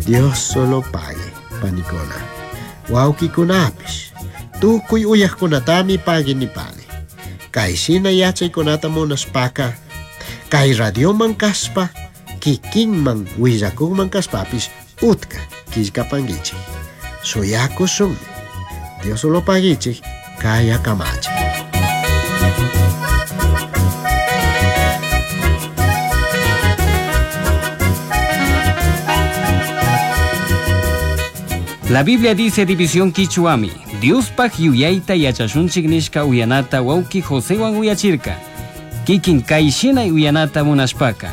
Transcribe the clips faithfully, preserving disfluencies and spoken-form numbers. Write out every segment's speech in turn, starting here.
Dios solo pague, panikuna. Wawkikunapish, tukuy uyaqkunatami pagui nipani. Kayshina yachaykunata munashpaka, kay radioman kaspa, kikinman willakunman kaspapish utka killkapankichik. Suyakushunmi. Dios solo paguichik, kaya kamachik. La Biblia dice división Quichuami, Diospaj yuyayta yachashunchik nishka uyanata wawki Josewan uyachirka. Kikin kayshina uyanata munashpaka.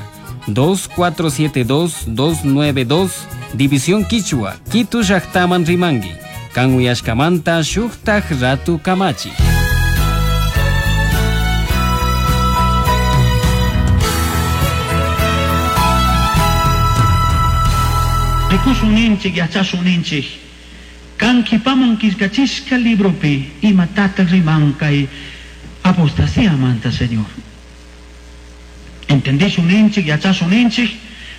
dos cuatro siete dos dos nueve dos, División Quichua, Quito llaqtaman rimangi. Kan uyashkamanta shuktaj ratu kamachi. Rikushun ninchik, yachashun ninchik. Kan kipaman killkachishka libropi imatataq riman kay apostasía manta, Señor. Entendishun ninchik, yachashun ninchik.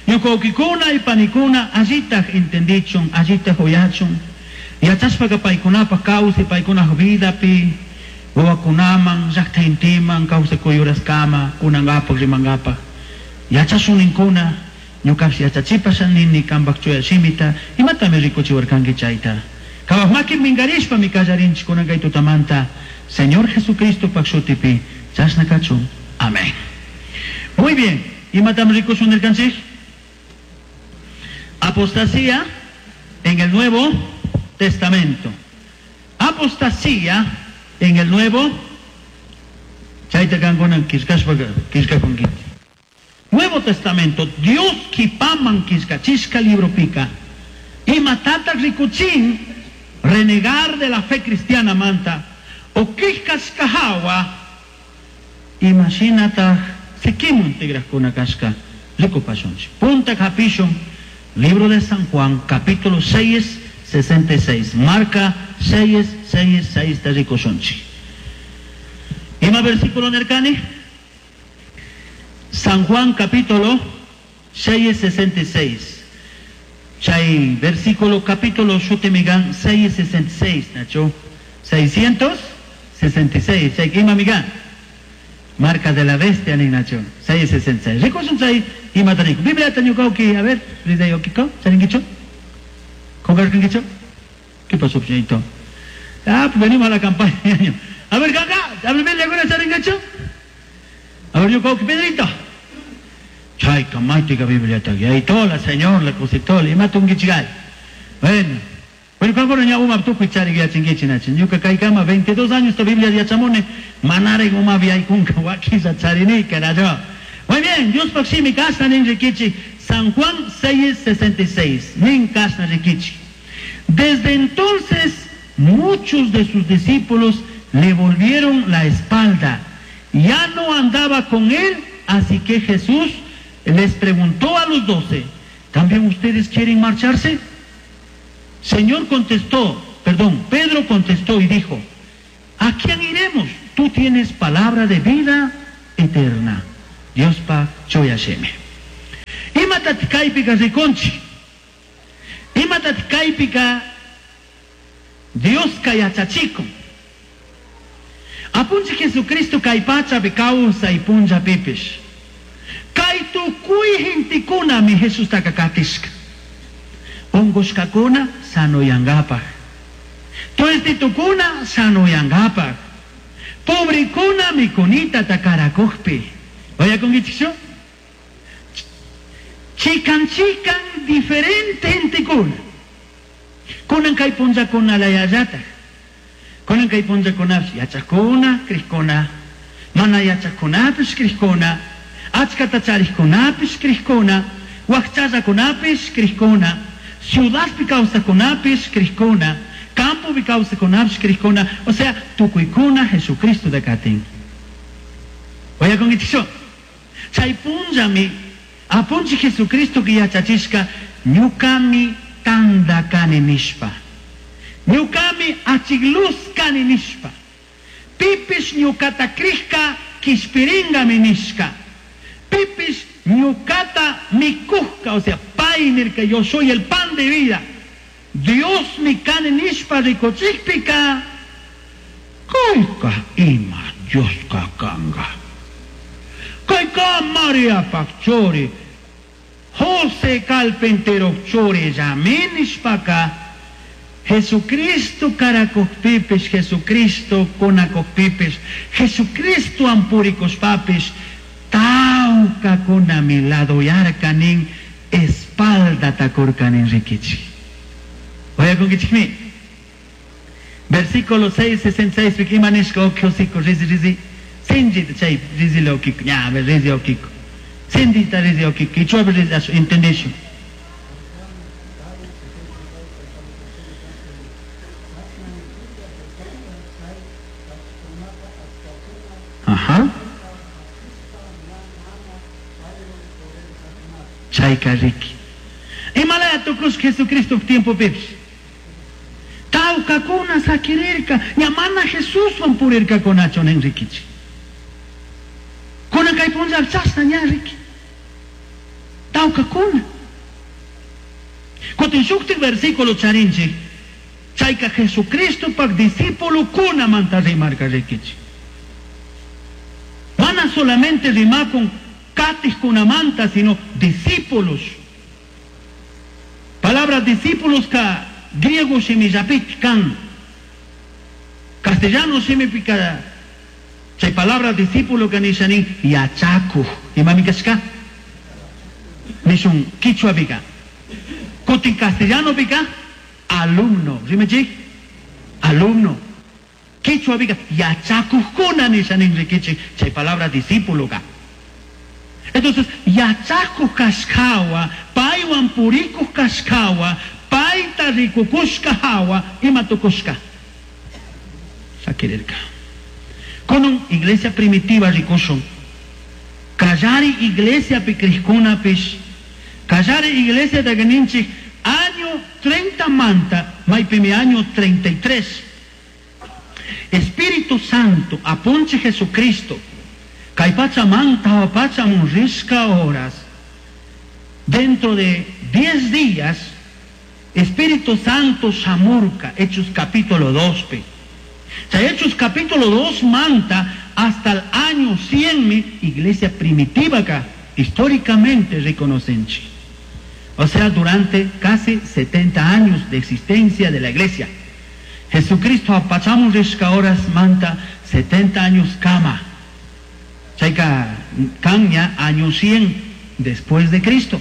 Ñuqawkikuna y panikuna allitaq entendichun, allitaq uyachun. Yachashpaqa paykunapaq kawsay, paykunaq vidapi, wawakunaman, llaqtayntiman, kawsakuyuraskama, kunankapaq, rimankapaq. Yachashun ninkuna, ñuqapish yachachipasha nini kanpaq chuya shimita, imatami rikuchiwarkanki chayta. Kawaq maki minkarishpa mi kallarinchik kunan kay tutamanta, Señor Jesucristo paq shutipi, chashna kachun. Amén. Muy bien, imatam rikushun nirkanchik? Apostasía en el Nuevo Testamento. Apostasía en el Nuevo Chayta kankunan killkashpa killkakunkichik. Nuevo Testamento, Dios kipaman killkachishka libro pika. Imatataq rikuchin renegar de la fe cristiana manta o killkashka hawa imashinataq sikimun tigrajkuna kashka rikupashunchik. Punta hapishun, libro de San Juan, capítulo seis, sesenta y seis. Marca seis, seis, seis de rikushunchik. Ima versículo nerkani? San Juan capítulo seis, sesenta y seis. Chay versículo capítulo shutimigan seis, sesenta y seis, Nacho. seiscientos sesenta y seis. Chay ima migan. Marca de la bestia ni Nacho. seis, sesenta y seis. Rikushun chay ima taniku. Biblia tañukauki, a ver, Rida yokiko, ¿charinkicho? ¿Congarkankicho? ¿Qué pasó, Pcheito? Ah, pues venimos a la campaña. A ver, acá, a ver, Biblia, ¿alguna charinkicho? A ver, yo, Pedrito. Chay, camática Biblia taqui. Ahí tola, señor, la cositola, y mata un guichigal. Bueno, bueno, cuando ña uma tukuy chari ya chinguichi nachi. Ñuka kaykama veintidós años esta Biblia ya chamone, manare uma viay kunka wakisa charini, carajo. Muy bien, Dios paximi kasna nin rikichi, San Juan seis, sesenta y seis, nin kasna rikichi. Desde entonces, muchos de sus discípulos le volvieron la espalda. Ya no andaba con él, así que Jesús les preguntó a los doce, ¿también ustedes quieren marcharse? Señor contestó, perdón, Pedro contestó y dijo, ¿a quién iremos? Tú tienes palabra de vida eterna. Dios pa choyasheme. Imatat kaypika rikunchi. Imatat kaypika Dios kayachachikun. Apunchi Jesucristo kay pachapi kawsay punllapipish. Kay tukuy gentekunami Jesustaka katishka. Ungushkakuna sanoyangapaj. Tuestitukuna sanoyangapaj. Pobrikuna mikunita takarakujpi. Vaya con Gichicho. Chican chican diferente gentekuna. Kunan kay punllakuna layallata. Kunan kay punllakunapish yachakuna, krishkuna. Mana yachakunapish krishkuna. Achkata charishkunapish krishkuna. Wakchallakunapish krishkuna. Ciudadpi kawsakunapish krishkuna. Campopi kawsakunapish krishkuna. O sea, tukuykuna Jesucristo de katin. Vaya con Gichicho. Chay punllami, apunchi Jesucristo que yachachishka, ñukami tanda kani nishpa. Ñukami achigluz kani nishpa. Pipish ñukata krishka kishpiringami nishka. Pipish ñukata mikujka, o sea, Pai nirka, yo soy el pan de vida. Dios mi kani nishpa rikuchikpika, kayka ima Dioska kanga. Kayka Mariapak churi, José carpintero churi llami nishpaka, Jesucristo karakukpipis, Jesucristo kunakukpipis, Jesucristo ampurikushpapis, tawkakunami ladoyarkanin, espalda kurkanin rikichik. Oyakunkichikmi. Versículo seis sesenta y seis, ima nishka okjosiko, rizi rizi, sinjita chay rizi lokiko, ña, rizi okiko. Sindita rizi okiko, ichuapi rizi ashu, entendishu. Ajá. Chayka riki. Imalaya tukush Jesucristo tiempo pips. Tawkakuna sakirirka, ñamana Jesuswan purirka kunacho nin rikichi. Kunan kay punlla chashna ña riki. Tawkakuna. Kutin shuktik versículo charinchik, chayka Jesucristo pak discípulo kuna manta rimarka rikichi. Mana solamente rimakun katis kunamanta, sino discípulos. Palabra discípulos ka griego shimillapik kan, castellano shimipika, chay palabra discípulo ka nishanin yachaku, imami kashka? Nishun quichua pika. Kutin castellano pika, alumno, rimechik? Alumno. Quichua pika, yachakujkuna nishanin rikichik, chay palabra discípulo ka. Entonces, yachaku kashkawa, paywan purikuj kashkawa, payta rikukushka hawa, ima tukushka. Sakirirka. Konon iglesia primitiva rikushun. Kallari iglesia pikrishkunapish. Kallari iglesia taganinchik, año treinta manta, maypimi año treinta y tres. Espíritu Santo, apunche Jesucristo. Kaypacha manta, pacha munrisca horas. Dentro de diez días, Espíritu Santo Shamurka, Hechos capítulo dos. O sea, Hechos capítulo dos manta hasta el año cien, mi iglesia primitiva acá, históricamente reconocen. O sea, durante casi setenta años de existencia de la iglesia. Jesucristo apachamos risca horas manta setenta años kama. Chayka caña año cien después de Cristo.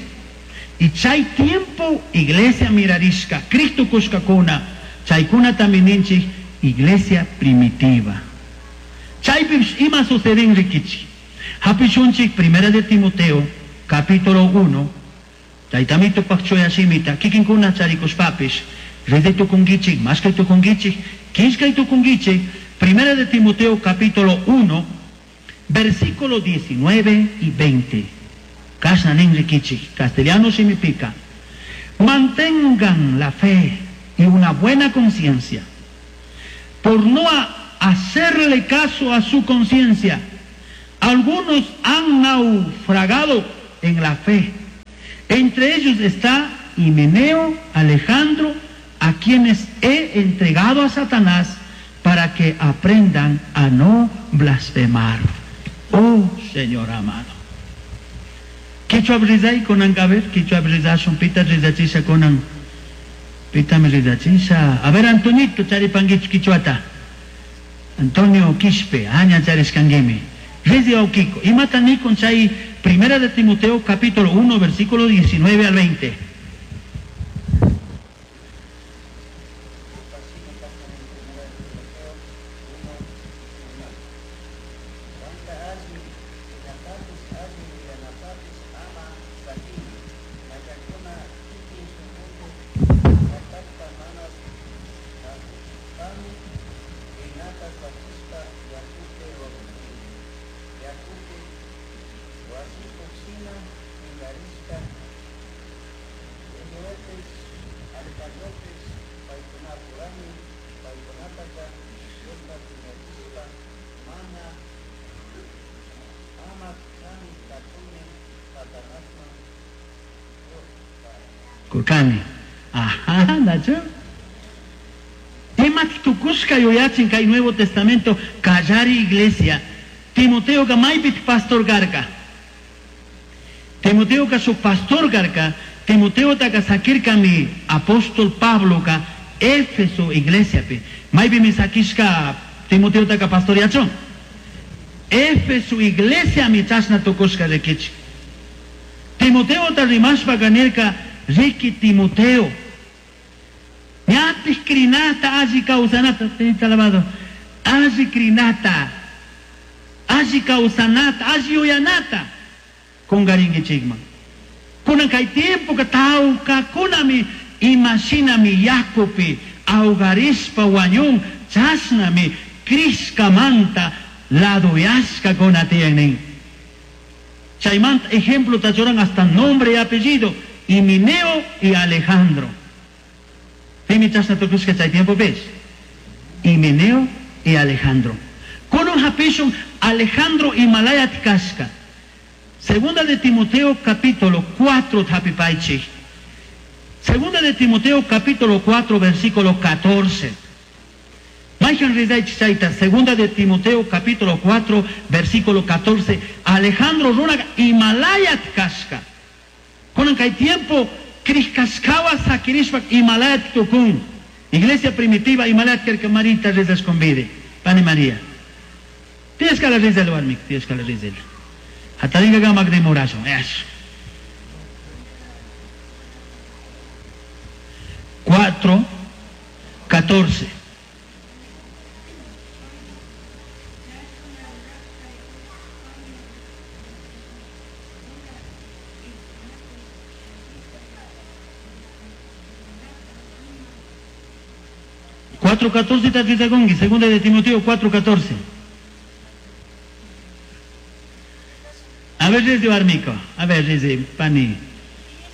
Y chay tiempo iglesia mirarisca, Cristo kushkakuna, chaykuna también iglesia primitiva. Chay ima suceden rikichi. Hapishunchik primera de Timoteo, capítulo uno, chaytamito pakchoya shimita, kikinkuna charikushpapis, rede tukungichik, mashkay tukungichik, kishkay tukungichik, primera de Timoteo, capítulo uno, versículo diecinueve y veinte. Kashna nin rikichik, castellano shimipica. Mantengan la fe y una buena conciencia, por no hacerle caso a su conciencia. Algunos han naufragado en la fe. Entre ellos está Himeneo, Alejandro, a quienes he entregado a Satanás para que aprendan a no blasfemar. Oh, Señor amado. Kichwa brizai konan gaber, kichwa brizashun, pita rizachisha konan. Pita me rizachisha. A ver, Antonito, charipanguich kichwata. Antonio Quispe, aña chariscangueme. Rizi Okiko. Y mataní con chay, primera de Timoteo, capítulo uno, versículo diecinueve al veinte. Kurkani. Ajá, nachu. Ima tukushka yuyachin kay Nuevo Testamento kallari iglesia. Timoteo ka maypit pastor karka. Timoteo ka su pastor karka. Timoteo taka sakirkami apóstol Pablo ka Éfeso iglesia pi. Maypi mi sakishka Timoteo taka pastoriachon. Éfeso iglesia mi chashna tukushka rikichi. Timoteo ta rimashpa kanirka riki Timoteo. Ñatis krinata alli kawsanata, tenita alabado. Alli krinata, alli kawsanata, alli uyanata. Kungarinkichikman. Kunan kay tiempo ka tawkakunami imashinami yakupi awgarishpa wañun chashnami krishkamanta laduyashka kuna tiyan nin. Chaymanta ejemplo tachuran hasta nombre y apellido, Himeneo y Alejandro. Pimi chashna tukushka chay tiempo pes. Himeneo y Alejandro. Kunan hapishun Alejandro Himalayat kashka. Segunda de Timoteo capítulo cuatro hapipaichi. Segunda de Timoteo capítulo cuatro versículo catorce. Maijan rizaichi chaita. Segunda de Timoteo capítulo cuatro versículo catorce. Alejandro runaga Himalayat kashka. Kunan kay tiempo krishkashkawa sakirishpak Himalayat tukun. Iglesia primitiva Himalayat kerka Marita rezas convide. Pani María. Tienes que la rezel warmik, tienes que la rezel. Hataringa gamak de morazo. Eso. Cuatro, catorce. Cuatro catorce tatitagongi, segunda de Timoteo cuatro catorce. A ver, desde Barmico, a ver, desde Pani,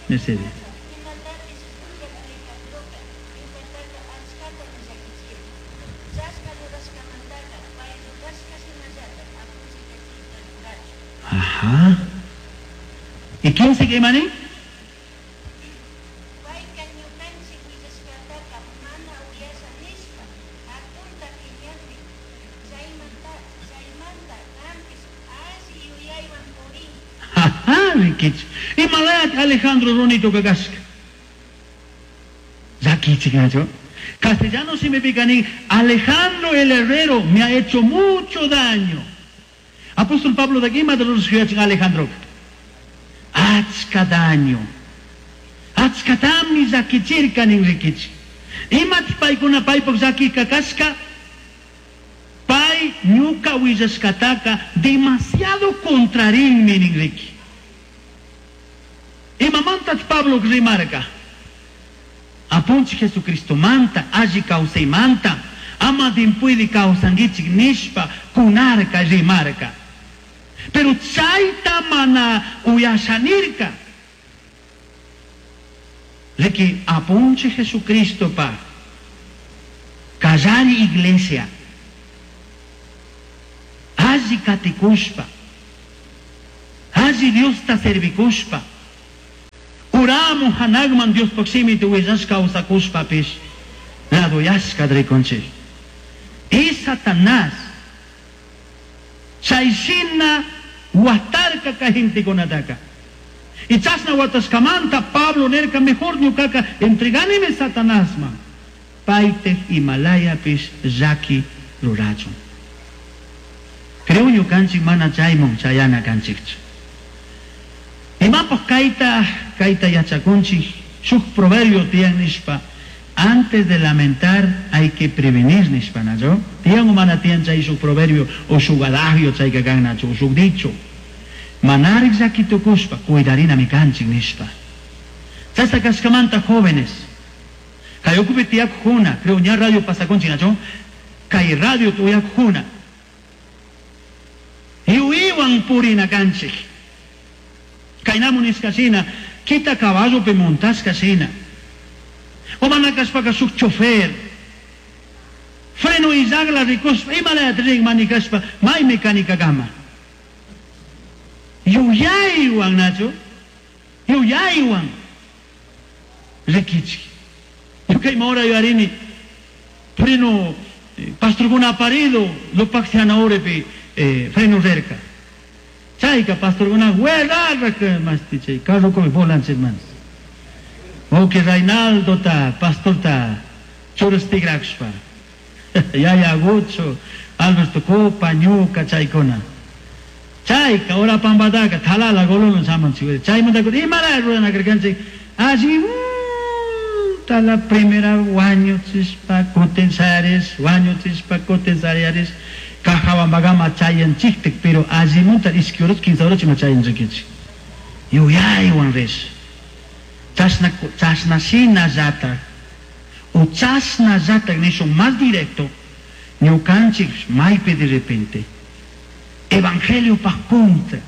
Mercedes. Ajá. ¿Y quién se quema, ni? Y Malayat Alejandro Ronito Kakaska. Castellano si me picaní. Alejandro el Herrero me ha hecho mucho daño. Apóstol Pablo de aquí Alejandro. Achka daño. Achka tami zakichirka ninrikichi. Imat paikuna paipok zaki kakaska. Pai ñuka willaskataka demasiado contrarinmi ninriki. Imamanta Pablo rimarka. Apunchi Jesucristo manta, alli manta, ama dimpuidi kawsangichik nishpa kunarka rimarka. Pero chayta mana uyashanirka. Leki apunchi Jesucristo pa kallari iglesia. Alli katikushpa. Alli Dios ta servikushpa. Uramu hanagman Dios proximity willashka usakushpapish ladoyashka drikonchik. Y Satanás chayshina watarka kahintikunataka. Y chashna watashkamanta Pablo nerka mejor ñukaka entreganime Satanásman. Paytej Himalayapish llaki rurachun. Creo ñukanchik mana chaymun chayana kanchikchu. Imapaq kayta kayta yachakunchik shuk proverbio tiyan nishpa antes de lamentar hay que prevenir nishpa nacho tiyan o mana tiyan chay shuk proverbio o shuk adagio chayka kan nacho o shuk dicho manarik llakitukushpa cuidarina mi kanchik nishpa chayta kashkamanta jóvenes kay ukupi tiyakujuna creo ña radio pasakunchik nacho kay radio tuyakujuna yuiwan purina kanchik. Kainamu nishkashina, kita caballo pe montashkashina. O manakashpaka shuk chofer. Freno izagla rikushpa, imalayat rin manikashpa, may mecánica gama. Yuyaywan, Nacho. Yuyaywan. Rikichik. Ñuka ima hora yuyarini freno pastorkuna aparido Lupac uripi eh, freno rirka. Chayka pastorkuna huerarrak mashti chay carrokupi volanchik manas. Wawqi Reinaldota pastorta churash tigrashpa. Yaya Agucho, Alberto Copa, ñuka chaykuna. Chayka ora pampataka thalala gololo shamunchik. Chaymanta imara ruranakarkanchik alli la primera wañuchishpa kutin shayarish, wañuchishpa kutin shayarish, Cajabambagama chayanchiktik, pero allimunta ishki horas, quince horas ima chayanchikichik. Yuyaywan rish. Chashna, chashna shinallatak, o chashnallatak nishun más directo, ñukanchik maypi de repente, evangelio pa contra,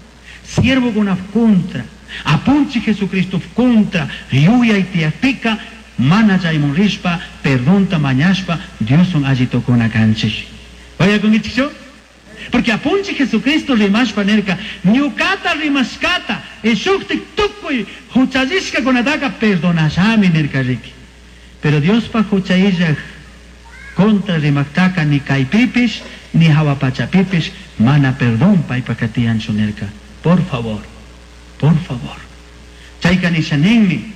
siervo kuna contra, apunchik Jesucristo contra, yuyay tiyakpika, mana chaymun rishpa, perdonta mañashpa, Dioswan alli tukuna kanchik. Uyakunkichikchu? Porque apunchik Jesucristo rimashpa nirka, ñukata rimashkata, shuktik tukuy huchallishkakunataka perdonashami nirka riki. Pero Diospa hucha contra rimaktaka ni kaypipish, ni hawapachapipish, mana perdón paypaka tiyanchu nirka. Por favor, por favor. Chayka nisha ninmi,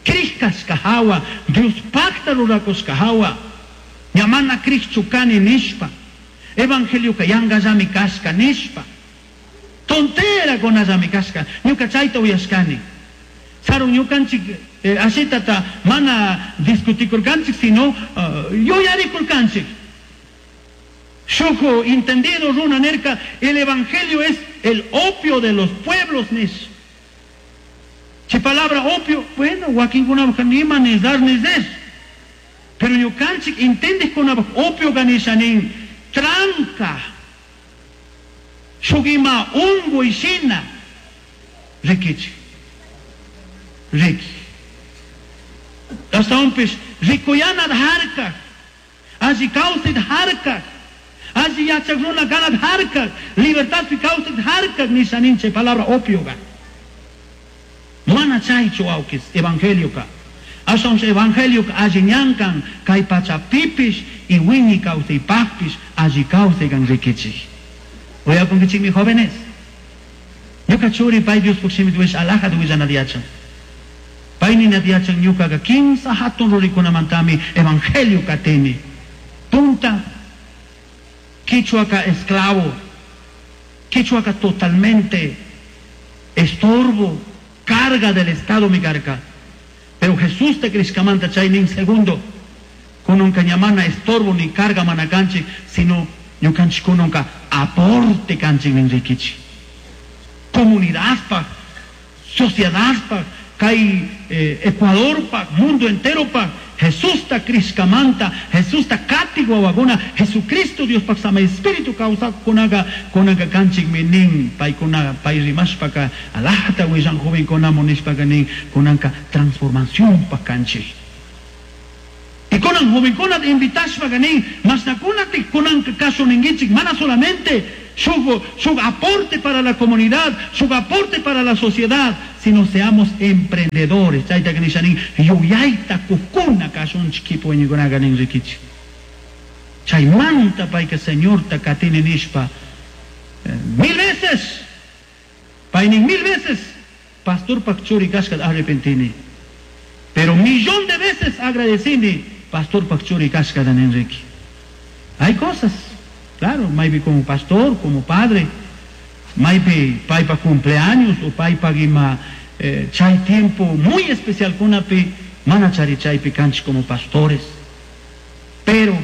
krishkashka hawa, Dios pacta rurakushka hawa, ña mana krishchu kani nishpa, evangelioka yankallami kashka nishpa, tontera kunallami kashka, ñuka chayta uyashkani. Sarun ñukanchik eh, ashitata mana discutikurkanchik, sino uh, yuyarikurkanchik. Shuk entendido runa nirka, el evangelio es el opio de los pueblos nish. Chay palabra opio, bueno, wakinkunapaj nima ni dar ni des. Pero ñukanchik entendejkunapaj opio nishanin tranca. Shuk ima unguy shina. Rikichik. Riki. Ashtawanpish rikuyanat harkaj, alli kawsayta harkaj, alli yachak runa kanat harkaj, libertadpi kawsayta harkaj nisha nin chay palabra opioga. Mana chaychu wawkis evangelioka. Ashtawanpish evangelioka alli ñankan kay pachapipish y wiñay kawsaypaqpish alli kawsaykan rikichik. Uyakunkichikmi jóvenes. Ñuka churi pay Diospuk shimita wish alajata willanata yachan. Pay ninata yachan ñukaqa kimsa hatun rurikunamantami evangelio katini. Punta, quichuaka esclavo, quichuaka totalmente estorbo, carga del Estado mi carga. Pero Jesús te crishkamanta chay nin segundo, kununka ña mana estorbo ni carga mana kanchik, sino ñukanchik kununka aporte kanchik nin rikichik. Comunidad pa, sociedad pa, kay eh, Ecuador pa, mundo entero pa, Jesús ta crishkamanta, Jesús ta katik wawakuna, Jesucristo Dios pak sama espíritu kawsaqkunaqa kunanka kanchikmi nin paykuna pay rimashpaka alajata willan jovenkunamun nishpaka nin kunanka transformación pa kanchik. Y kunan jovenkunata invitashpaka nin mashnakunatik kunanka kashun ninkichik mana solamente shuk, shuk aporte para la comunidad, shuk aporte para la sociedad, sino seamos emprendedores. Chayta nisha nin yuyayta kukuna kashunchik kipuñikunaqa nin rikichik. Chaymanta payka Señorta katini nishpa eh, mil veces, pay nin mil veces, pastorpak churi kashkata arrepentini. Pero millón de veces agradecini pastorpak churi kashkata nin riki. Hay cosas, claro, maybe como pastor, como padre, maybe paypa cumpleaños o paypa ima eh, chay tiempo muy especial kunapi mana chari chaypi kanchik como pastores. Pero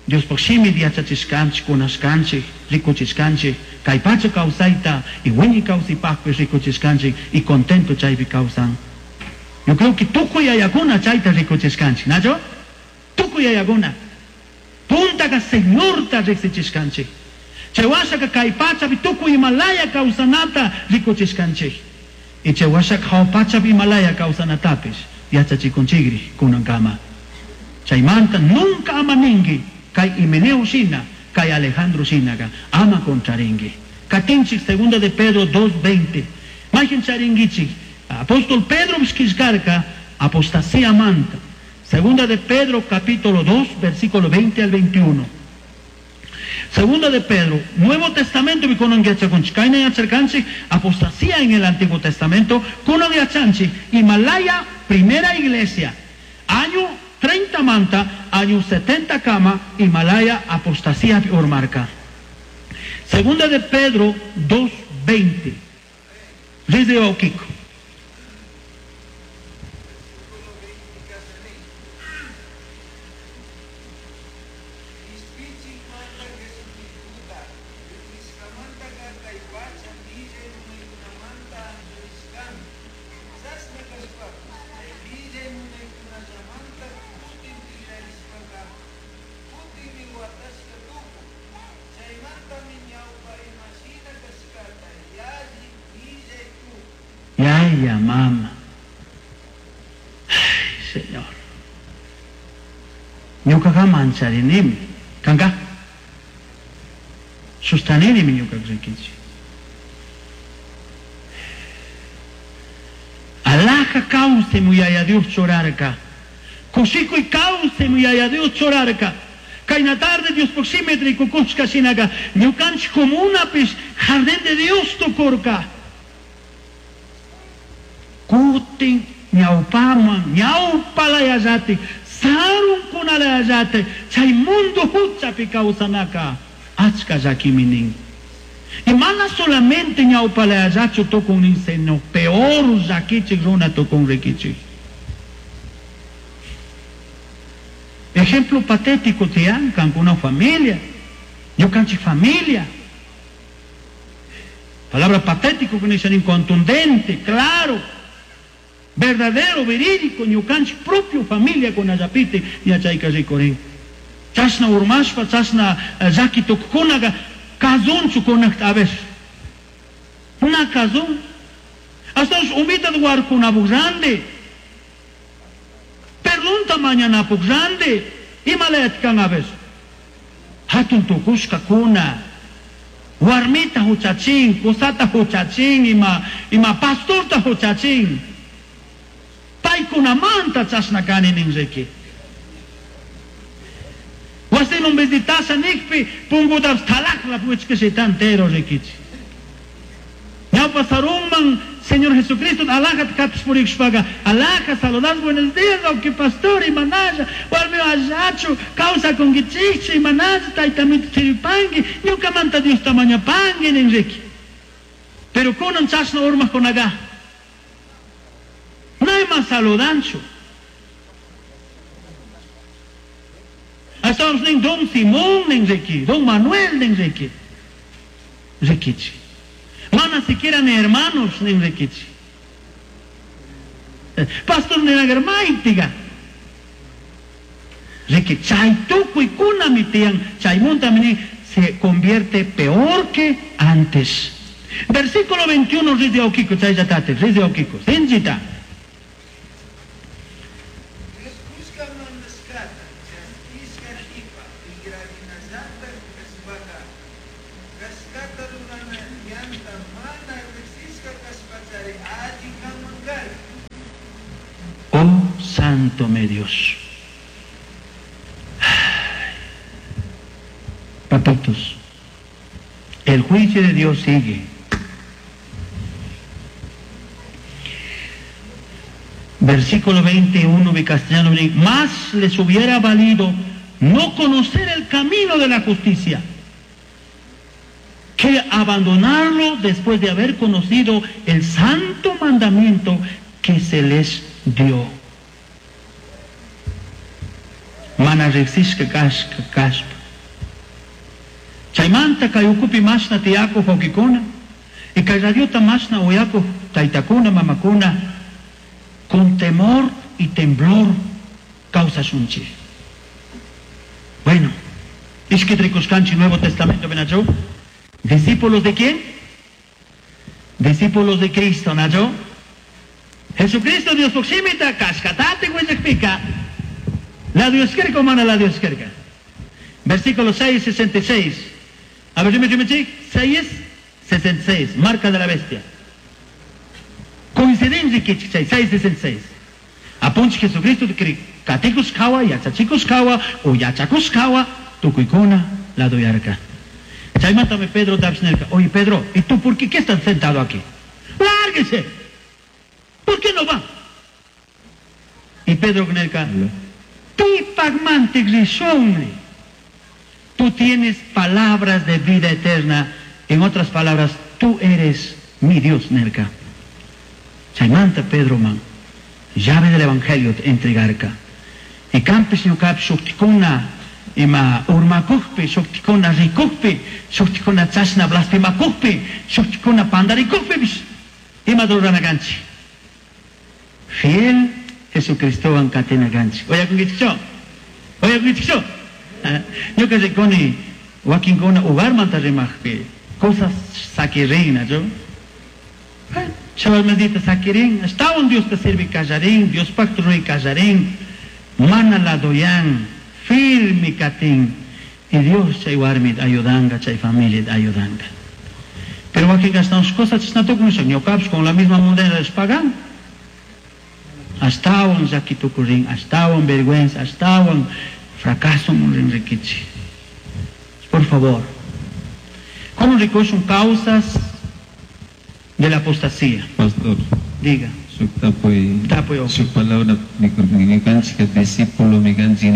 Diospaj shimi yachachishkanchik, kunashkanchik, rikuchishkanchik, kay pacha kawsayta y wiñay kawsaypaqpis rikuchishkanchik y contento chaypi kawsan. Yo creo que tukuy yayakuna chayta rikuchishkanchik, ¿nacho? Tukuy yayakuna. Puntaka Señorta riksichishkanchik. Chay washaka kay pachapi tukuy imalaya kawsanata rikuchishkanchik. Y chay washaka hawa pachapi imalaya kawsanatapis yachachikunchikri kunankama. Chaymanta nunca ama ninki kay Himeneo shina, kay Alejandro shinaka ama contrarinki. Katinchik segunda de Pedro dos veinte. Mayqin charinkichik. Apóstol Pedro qillqarka Apostasía manta. Segunda de Pedro, capítulo dos, versículo veinte al veintiuno. Segunda de Pedro, Nuevo Testamento, apostasía en el Antiguo Testamento, Himalaya, primera iglesia, año treinta manta, año setenta kama, Himalaya, apostasía ormarca. Segunda de Pedro dos veinte. Desde Oquico. Ya, mamá. Ay, Señor. Ñukaqa mancharinimi. Kanka. Sustaninimi ñukaqa rikichi. Alaja cause muyaya Dios chorarka. Kushikuy cause muyaya Dios chorarka. Kayna tarde Dios proximetri kukushka shinaga. Ñukanchik comunapis jardín de Dios tukurka. Kutin ñawpaman ñawpalayallati sarunkunalayallati chay mundo huchapi kawsanaka achka llakimi nin. Y mana solamente ñawpalayallachu tukun nin, sino peor llakichik runa tukun rikichik. Ejemplo patético tiyan kankuna familia, ñukanchik familia. Palabra patético que dicen contundente, claro, verdadero, verídico, ñukanchik propio familia con ayapite yachayka rikurin. Chashna urmashpa, chashna llaki tukunaga kazunchu kunakta a ver. Una kazun. Hasta umita warkunapuq grande. Perdunta mañanapuq grande. Imalayat kan a ver. Hatun tukushka kuna. Warmita huchachin, kusata huchachin, ima, ima pastorta huchachin. Paykunamanta chashna kani nin riki. Wasiman visitasha nikpi punkutapas thalaqla puchkashita entero rikichi. Ñawpa sarunman Señor Jesucristo alajat katus purikshpaga alaja saludas buenos días aunque pastor imanalla warmi allachu causa kunkichikchu imanalla taytamita chiripanki ñukamanta Dios tamañapanki nin riki. Pero kunan chashna urmaqkunaqa nayman saludanchu. Estamos nin Don Simón nin riki, Don Manuel nin riki. Rikichi. Mana siquiera ni hermanos nin rikichi. Pastor ninagarmaitiga. Riki chay tukuy kunami tiyan, chaymunta mini se convierte peor que antes. Versículo veintiuno rizde okiko, chayllatate, rizde okiko. Sinchita. Oh Santo mi Dios. Papitos, el juicio de Dios sigue. Versículo veintiuno de castellano, más les hubiera valido no conocer el camino de la justicia que abandonarlo después de haber conocido el santo mandamiento que se les dio. Mana riqsishka kashka kashpa. Chaymanta kay ukupi mashna tiyakuq wawqikuna, y kay radiota mashna uyakuq taytakuna, mamakuna, con temor y temblor kawsashunchik. Bueno, ishki rikuskanchik Nuevo Testamento benachu. ¿Discípulos de quién? Discípulos de Cristo, ¿nacho? Jesucristo Dios proximita, cascatate, huellakpika. La Dios kerka, mana la Dios kerka. Versículo seis sesenta y seis. A ver, dime, dime, seis sesenta y seis, marca de la bestia. Coincidencia que seis sesenta y seis. Apunchik Jesucristo katikushkawa, yachachikushkawa o yachakushkawa tukuykuna ladoyarka. Chaymantami Pedro tapish nirka, oye Pedro, ¿y tú por qué, qué estás sentado aquí? ¡Lárguese! ¿Por qué no va? Y Pedro nirka, pipagmantik rishunri. Tú tienes palabras de vida eterna. En otras palabras, tú eres mi Dios, nirka. Chaymanta Pedro man, llave del evangelio entregarka. Y campes ñukapi shuktikuna ima urmakukpi, shuktikuna rikukpi, shuktikuna chashna blasfemakukpi, shuktikuna pandarikukpipish, ima ruranakanchik. Fiel Jesucristowan katinakanchik. Oyakunkichikchu? Oyakunkichikchu? Ñuka rikuni wakinkuna hogarmanta rimaqpi cosas sakirin, ¿no? Chavalmandita sakirin, ashtawan Diosta sirvi kallarin, Diospaq ruray kallarin, mana ladoyan, firme katin, y Dios chay warmit ayudanga, chay familia ayudanga. Pero wakin gastamos cosas chashnatukunisha, ñukapish con la misma moneda les pagan. Ashtawan llakitukurin, ashtawan vergüenza, ashtawan fracaso rikichi. Por favor, ¿cómo recogen causas de la apostasía? Pastor, Diga. Su tapoy, Tapoy, su palabra, mi cancha, discípulo, mi cancha,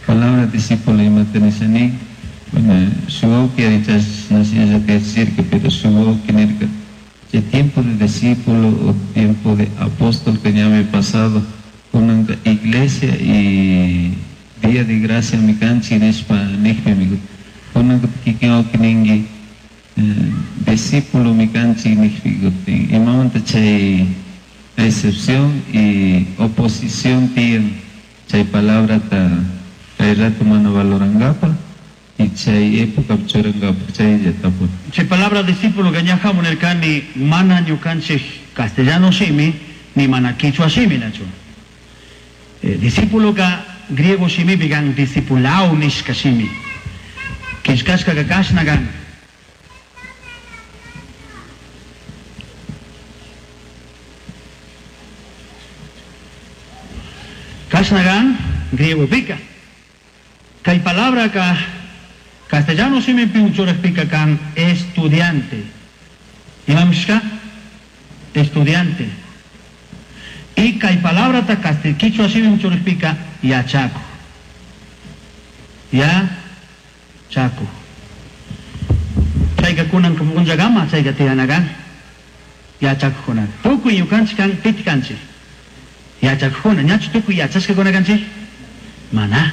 palabra discípulo y maternisani, bueno, su que dichas no sé ya te decir que, pero su que nerca, el tiempo de discípulo o tiempo de apóstol que ya me he pasado con una iglesia y día de gracia mi cancha nespa nejpe mi con una que que ningi discípulo mi cancha nejpe y mamanta chay excepción y oposición tiene chay palabra ta kay rato mana valorangapa y chay época churangapa chay yatapu. Chay palabra discípulo que ñajamu nirkani mana ñukanchik castellano shimi ni mana quichua shimi nachu. Eh, discípulo ka griego shimi bigan discipulao nishka shimi. Kishkashka ka kashna gan. Kashna gan griego pika. Kay palabra ka castellano shimi piuchuraj pika kan estudiante. Imamishka? Estudiante. Y kay palabra ta quichua shimi piuchuraj pika yachaku. Ya chaku. Chayka kunan kunchagama chayka tiyanagan yachakukuna. Tukuy ñukanchik kan pitikanchik. Yachakukuna, ñachu tukuy yachashkakuna kanchik? Mana.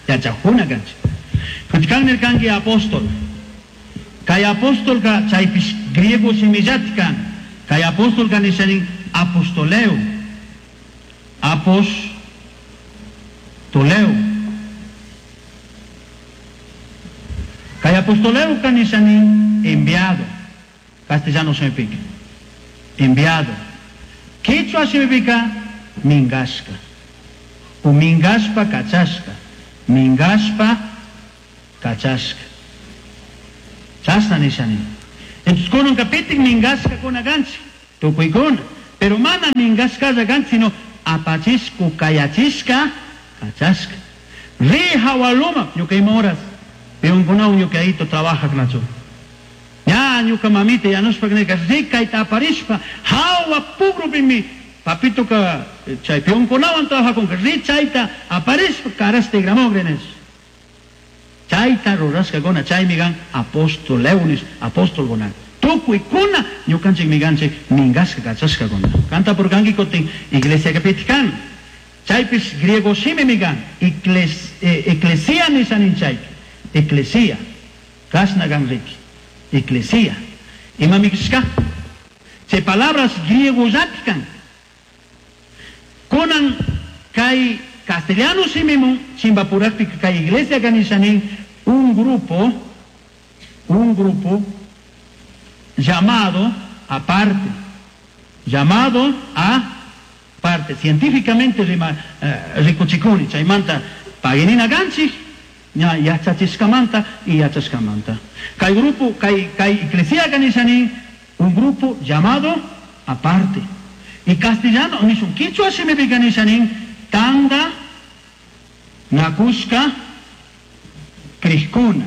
Yachakuna kanchik. Kutikan nirkanki apóstol. Kay apóstol ka chaypish griego shimillati kan. Kay apóstol ka nishanin apostoleo. Apostoleo. Kay apostoleo ka nishanin enviado. Castellano significa enviado. Quichua significa mingashka. O mingashpa kachashka. Mingashpa kachashka. Chashna nishani. Entonces kunan kapitik mingashka kuna ganchi. Tukuykuna. Pero mana mingashkalla ganchi, sino apachishku kayachishka kachashka. Ri hawaluma ñuka ima horas. Peonkunawan ñuka ayito trabajak nachu. Ya ñuka mamita yanushpa nirka ri kayta aparishpa hawa pugrupimi papito ka chay peonkunawan trabajakunka ri chayta aparishpa karashta igramogrenes. Chayta rurashkakuna chaymi kan apostoleunis apostolkuna. Tukuykuna ñukanchik miganchik mingashka kachashkakuna. Kanta purkanki kutin iglesia kapitikan. Chaypish griego shimi migan igles, eh, eclesia nishanin chayki. Eclesia. Kashna kan riki. Eclesia. Ima mikishka? Chay palabras griego yatikan. Kunan kay castellano shimimun chimbapurakpi kay iglesia kanishanin un grupo, un grupo llamado aparte, llamado a parte, científicamente rima, eh, rikuchikuni, chaymanta paginina ganchik, ña yachachishkamanta y yachashkamanta. Kay grupo, kay, kay iglesia kanishanin un grupo llamado aparte. Y castellano nishun quichwa shimipika nishanin tanda nakushka krishkuna.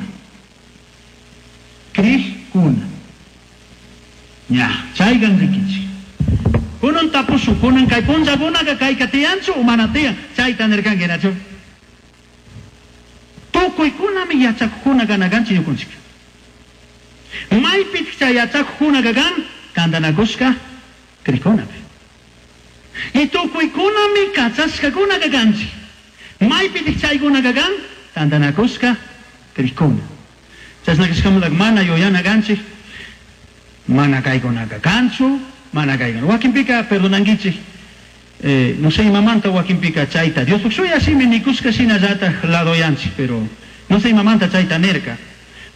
Krishkuna. Ya, chaygan rikichi. Kunan tapushu, kunan kay punllakunaka kayka tiyanchu o mana tiyan, chayta nirkanki nachu. Tukuykunami yachakukuna kanakanchik ñukunchik. Maypitaq chay yachakukuna kan tantanakushka krikunapi. Y tukuykunami kachashkakuna kanchik. Maypitaq chaykuna kan tantanakushka krikuna. Chashna kashkamanta mana yuyana kanchik, mana kaykunaka kanchu, mana kaykuna. Wakinpika perdonankichik, eh, no sé imamanta wakinpika chayta. Diospuk shuya shimi nikushka shinallataj ladoyanchik, pero no sé imamanta chayta nirka.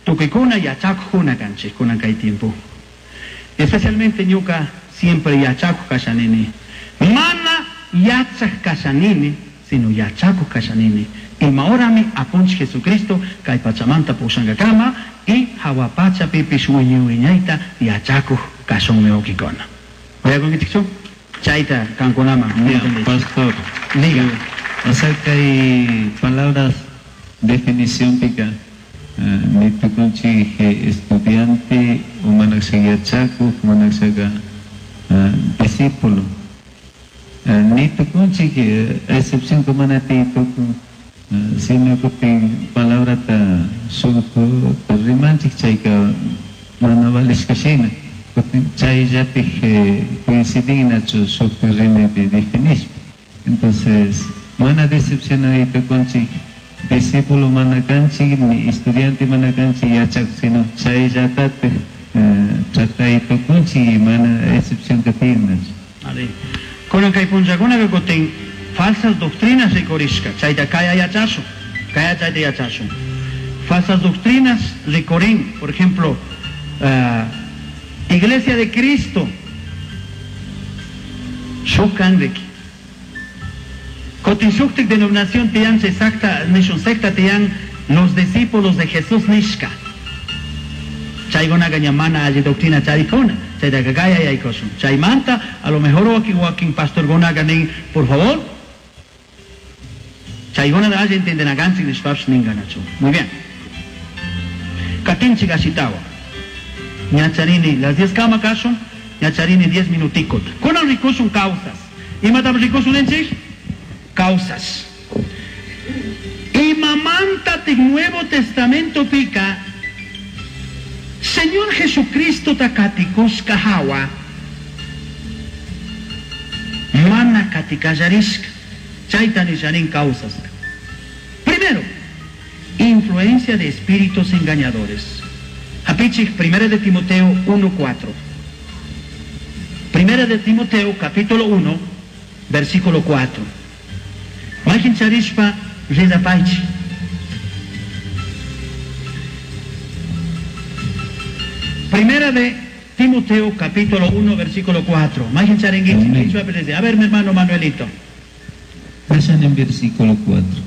Tukuykuna yachakukuna kanchik kunan kay tiempo. Especialmente ñuka siempre yachakuj kashanini. Mana yachaj kashanini, sino yachakuj kashanini. Ima horami apunchik Jesucristo kay pachamanta pushankakama y hawa pachapipish wiñay wiñayta yachakuj kashunmi wawkikuna. Uyakunkichikchu? Chayta kankunaman. Ya, pastor. Diga. O sea que hay palabras, definición pica. Ni tukunchik estudiante o manakshaka yachakuj, manakshaka discípulo. Ni tukunchik, excepción como mana ti tukun, sino kutin palabrata shuk rimanchik chayka mana valishka shina. Kutin chayllatik coincidinachu shuk rimaypi definishpa. Entonces, mana decepcionari tukunchik, discípulo mana kanchik, ni estudiante mana kanchik yachak, sino chayllatatik tratay tukunchik mana excepción katinnachu. Ari. Kunan kay punllakunaka kutin falsas doctrinas rikurishka, chayta kaya yachashun, kaya chayta yachashun. Falsas doctrinas rikurin, por ejemplo, uh, Iglesia de Cristo, shukan riki. Kutin shuktik denominación tiyan secta, nishun secta tiyan los discípulos de Jesús nishka. Chaykunaka ña mana alli doctrina chaykuna, chaytaka kaya yaykushun. Chaymanta, a lo mejor wakin wakin pastorkunaka nin, por favor, chaykuna alli entiendenakanchik nishpapish ninkanachu. Muy bien. Katinchik ashitawa. Ñacharini, las diez kama kashun, ñacharini diez minuticot. Kunan rikushun causas. Imatam rikushun ninchik? Causas. Imamanta tik Nuevo Testamento pika, Señor Jesucristo takatikushka hawa, mana katikallarishka. Chayta nishanin causas. Primero, influencia de espíritus engañadores. Hapichik, Primera de Timoteo uno cuatro. Primera de Timoteo, capítulo uno, versículo cuatro. Majin charishpa ridapaichi. Primera de Timoteo, capítulo uno, versículo cuatro. Majin charenguichi. A ver, mi hermano Manuelito. Pasan en versículo cuatro.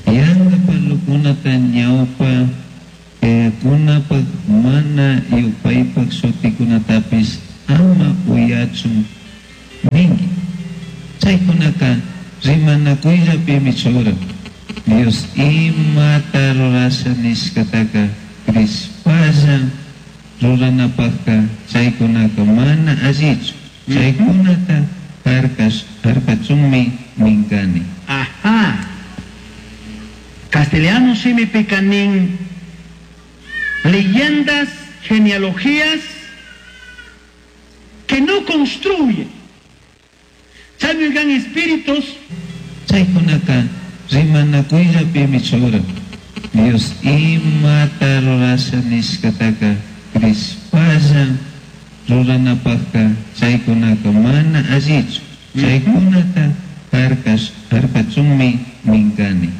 Yanga parlukunata ñawpa kunapak mana yupaypak shutikunatapis ama uyachun ninki. Chaykunaka rimanakuyllapimi churan. Dios imata rurasha nishkataka krispalla ruranapakka chaykunaka mana allichu. Chaykunata harkash harkachunmi minkani. Ajá. Castellano shimipika nin leyendas, genealogías que no construyen. Chaymigan espíritus. Chaykunaka rimanakuyllapimi churan. Dios imata rurasha nishkataka krispalla ruranapakka chaykunaka mana allichu. Chaykunata harkash harkachunmi minkani.